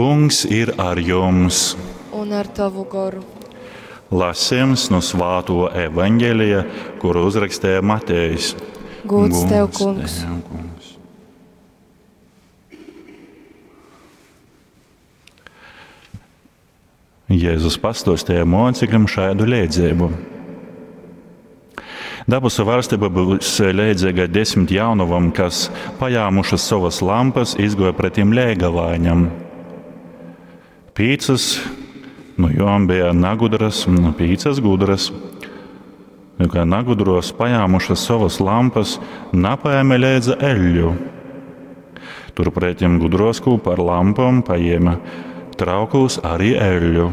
Kungs ir ar jums! Un ar tavu goru. Lasījums no Svāto evaņģēlija, kuru uzrakstīja Matejs. Gods tev, kungs. Tev, kungs. Jēzus pastostīja mocekļiem šādu liedzību. Dabasu valstība būs leidzīga desmit jaunavam, kas pajāmušas savas lampas, izgoja pretim lēgavaiņam. Pīcas nu jom bija nagudras un pīcas gudras. Nu, kā nagudros pajāmušas savas lampas, napaēma leidza eļļu. Turpretim gudros kūpa ar lampām paēma traukos arī eļļu.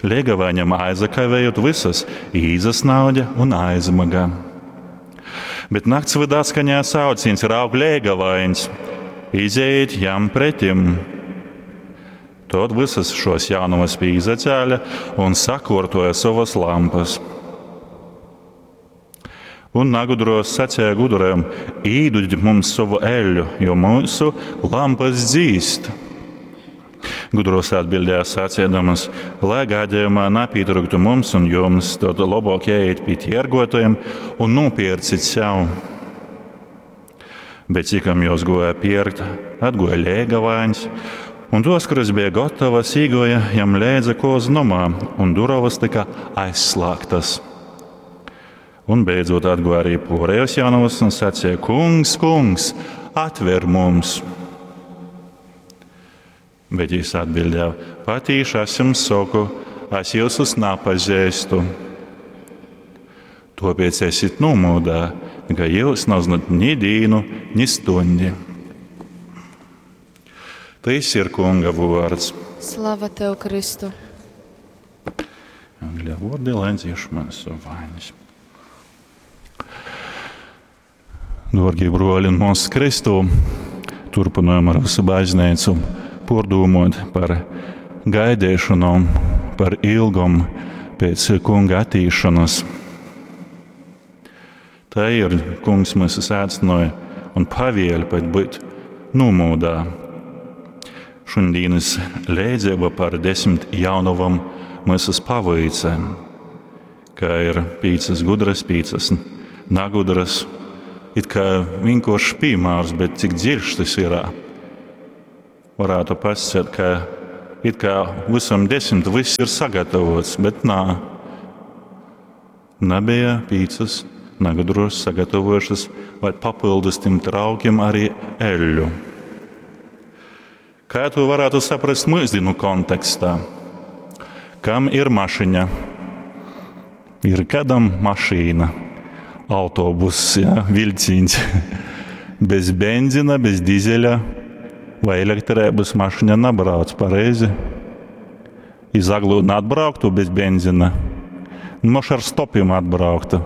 Liegavaņam aizakavējot visas, īzasnaudja un aizmaga. Bet nakts vydā skanēja sauciens raug liegavains, izejiet jam pretim. Tad visas šos jaunavas pīzacēla un sakortoja savas lampas. Un nagudros sacīja gudriem, īduģi mums savu eļļu, jo mūsu lampas dzīst. Gudros atbildēja sacīdamas, lai gadījumā napītrūktu mums un jums, tad labāk jāiet pie tirgotājiem un nopircit sev. Bet cikam jos goja pirkt, atgoja lēgavaiņs, un tos, kuras bija gatavas, īgoja jam leidza kozu nomā, un durovas tika aizslēgtas. Un beidzot atgoja arī porējos jaunavas un sacīja, kungs, kungs, atver mums! Bet jis atbildēja, patīši es jums saku, es jūsus napazīstu. Tāpēc esiet nomodā, ka jūs nezināt ni dīnu, ni stundi. Tas ir kunga vārds. Slava tev, Kristu! Angļu vārdi, lai dzieš mūsu vainas. Dārgie broļi un mūsu Kristu, turpinājam ar visu baznīcu pārdomot par gaidīšanu, par ilgumu pēc kunga attīšanas. Tā ir kungs mūs aicināja un pavēla pat būt nomodā. Šodienas lēdzība par desmit jaunavam mūsu paveica, ka ir pīcas gudras, pīcas nagudras, it kā vienkāršs piemērs, bet cik dziļš tas ir. Varētu pasakāt, ka it kā visam desmit viss ir sagatavots, bet nā. Nebija pīcas nagudros sagatavojušas vai papildus tiem traukiem arī eļļu. Kā to varētu saprast mūsdienu kontekstā? Kam ir mašiņa? Ir kādam mašīna, autobuss, ja, vilciens. Bez benzina, bez dizeļa vai elektrības mašiņa nabrauc pareizi. Iz Aglūnu atbrauktu bez benzina, moš ar stopiem atbrauktu.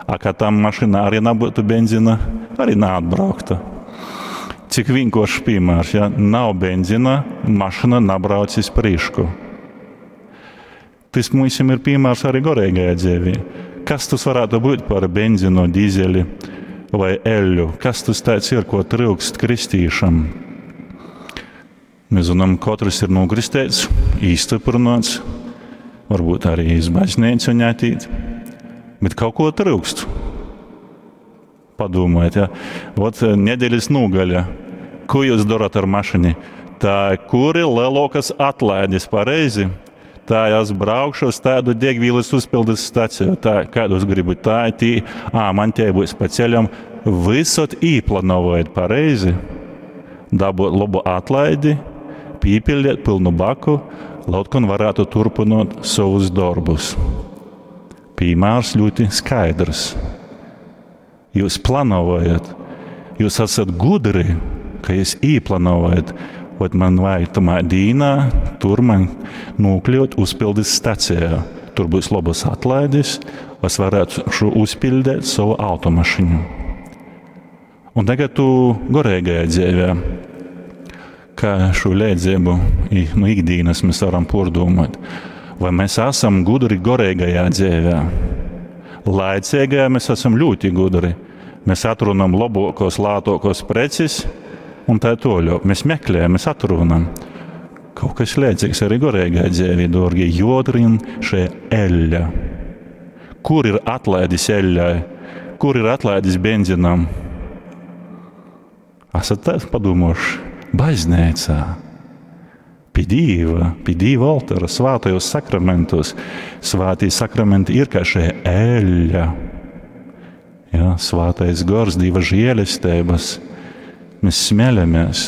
A ka tam mašīnā arī nebūtu benzina, arī neatbrauktu. Cik vienkāršs piemērs, ja nav benzina, mašīna nabrauc iz prīšku. Tas mums ir piemērs arī garīgajā dzīvē. Kas tas varētu būt par benzinu, dīzeli vai eļļu? Kas tas tāds ir, ko trūkst kristīšam? Mēs zinām, katrs ir nokristēts, īstiprināts, varbūt arī iz baznīcu ņētīt, bet kaut ko trūkst. Padomājiet, ja? Vot nedēļas nogaļa. Ko jūs darat ar mašīnu? Tā, kur ir lielākas atlaides, pareizi? Tā, es braukšu uz tādu degvielas uzpildes staciju, tā, kādu es gribu, tā, tī, ā, man tie būs pa ceļam. Visot īplānojot pareizi, dabūt labu atlaidi, pīpildiet pilnu baku, lai otkon varētu turpinot savus darbus. Piemērs ļoti skaidrs. Jūs plānojat, jūs esat gudri, ka jūs īplānojat, Ot man vajag tamā dīnā, tur man nokļūt uzpildes stacijā. Tur būs labas atlaides, es varētu šo uzpildīt savu automašīnu. Un tagad tu garīgajā dzīvē, kā šo līdzību no ikdienas mēs varam pārdomāt. Vai mēs esam gudri garīgajā dzīvē? Laicīgajā mēs esam ļoti gudri. Mēs atrunam labākos, lētākos preces, Un tā toļok. Mēs meklējam, mēs atrunam. Kaut kas līdzīgs arī goreigai dzīvei, dārgie, jodrin šie eļļa. Kur ir atlaidis eļļai? Kur ir atlaidis benzinam? Esat tā padomājuši? Baznīcā. Pie Dieva, pie Dieva altāra, svātajos sakramentos. Svātie sakramenti ir kā šie eļļa. Ja, svātais gors, Dieva žēlestības. Mēs smeļamies.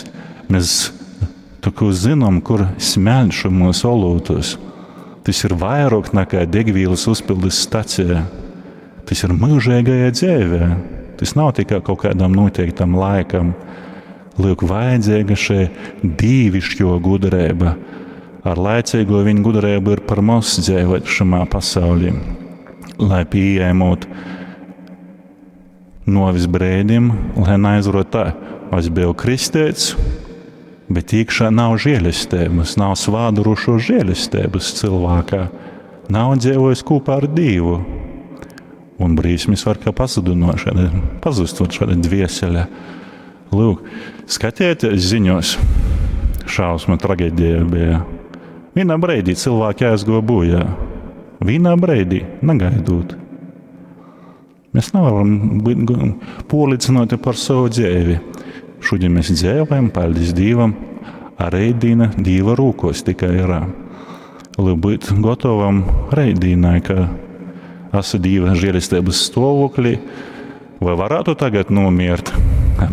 Mēs tā kā zinām, kur smeļ šo mūsu olūtus. Tas ir vairāk nekā degvielas uzpildes stacija. Tas ir mūžīgajā dzīvē. Tas nav tikai kaut kādam noteiktam laikam. Lūk, vajadzīga šī dīvišķo gudrība. Ar laicīgo viņu gudrību ir par maz dzīvot šamā pasaulī. Lai pieejamot novis brēdim, lai neaizrot tā, es biju kristēts, bet iekšā nav žēlestības, nav svādurušo žēlestības cilvēkā, nav dzīvojis kopā ar Dievu. Un brīsmis var kā pazudinot šāda, pazustot šāda dviesele. Lūk, skatieties ziņos, šausma traģēdija bija. Vienā brīdī cilvēki aizgoja bojā. Vienā brīdī, negaidot. Mēs nevaram būt pārliecināti par savu dzīvi. Šodien mēs dzīvojam, paldies Dievam, a reidīna Dieva rūkos tikai ir. Lai būt gatavam reidīnai, ka esmu Dieva žēlestības stāvoklī, vai varētu tagad nomirt?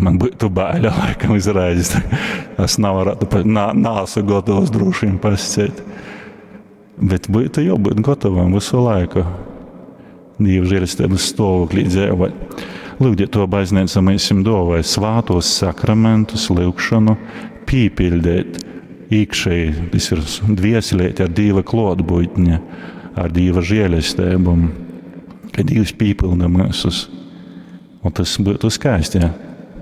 Man būtu baila laikam izraizes. Es nevarētu, neesmu gatavs droši vien pasciet. Bet būtu jābūt gatavam visu laiku. Dieva žēlestības stāvoklī dzīvot. Lūdziet to baznīca mēs jums dāvāja svātos sakramentus, lūgšanu, pīpildēt iekšēji, tas ir dvieselēt ar Dieva klātbūtni, ar Dieva žēlestību, ka Dievs pīpilda mūsus. Un tas būtu skaisti, ja.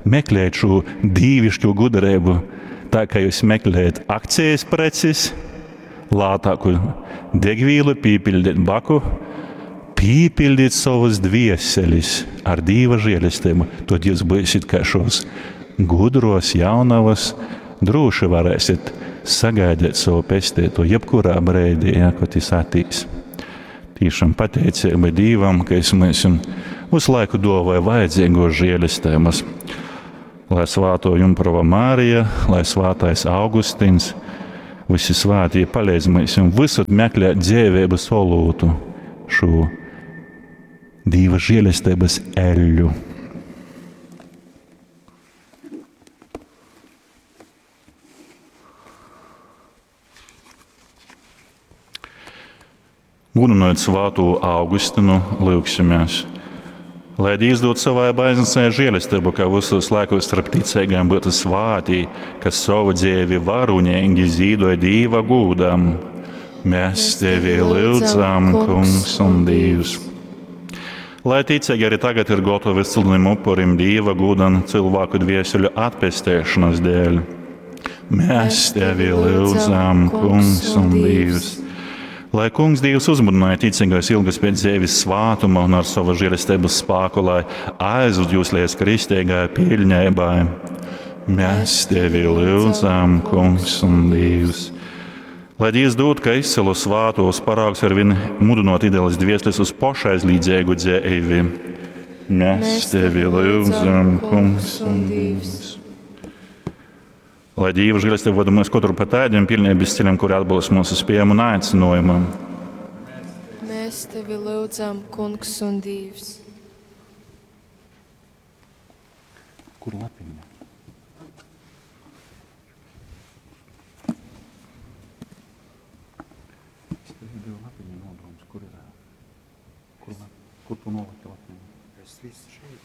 Meklēt šo dīvišķo gudrību, tā kā jūs meklējat akcijas preces, lētāku degvielu, pīpildīt baku, pīpildīt savas dvieselis ar Dieva žēlestību, tad jūs būsiet kā šos gudros jaunavas, droši varēsiet sagaidīt savu pestīto jebkurā brīdī, ja, kad jis atīs. Tiešām pateicība Dievam, ka es mēs visu laiku dāvāju vajadzīgo žēlestības. Lai svāto Jumprava Mārija, lai svātais Augustins, visi svātie palīdz mums visur meklēt dzīvības olūtu, šo Dieva žēlestības eļļu. Gudinot svāto Augustinu, lūgsimies. Lai Dievs dod savai baznīcai žēlastību, ka visos laikos starp ticīgiem būtu svāti, kas savu dzīvi varonīgi zīdoja Dieva gūdam. Mēs tevi lūdzam, Kungs un Dievs. Lai ticīgi arī tagad ir gatavi silnim upurim Dieva gūdam cilvēku dvieseļu atpestēšanas dēļ. Mēs tevi lūdzam, Kungs un Dievs. Lai Kungs Dievs uzmudināja ticīgais ilgas pēc dzīves svātuma un ar savu žēlestības spēku, lai aizved jūs līdz kristīgai pilnībai. Mēs tevi lūdzam, Kungs un Dievs. Lai Dievs dod, ka izcilu svātos paraugs ar vien mudinot ideālas dvieseles uz pašaizlīdzīgu dzīvi. Mēs tevi lūdzam, Kungs un Dievs. Lai Dieva žēlastība vada mūs katru pa tādiem pilnības ceļiem, kuri atbilst mūsu spējām un aicinājumam. Mēs tevi lūdzam, Kungs un Dievs. Kur lapiņa? Es tev devu lapiņu nodoms, kur ir? Kur, lap, kur tu noliki lapiņu? Es visu šeit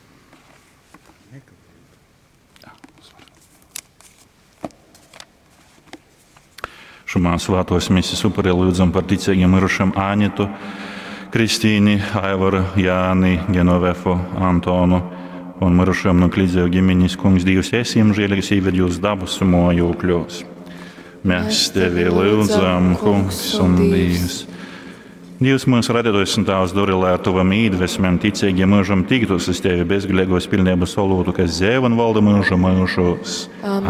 nekavēju. Šumā svētos misijas upurī lūdzam par ticīgiem mirušiem Anitu, Kristīni, Aivaru, Jāni, Genovefu, Antonu un mirušiem no Klidzēju ģimenes. Kungs Dievs, esi jums žēlīgs, ieved jūs dabasu mojokļos. Mēs tevi lūdzam, Kungs un Dievs. Dievs mūsu radītājs un Tēvs, dori, lai ar tavam īdvesmēm ticīgie mūžam tiktos uz tevi bezgalīgos pilnības olūtu, kas dzēv un valda mūžu mūžos. Āmen.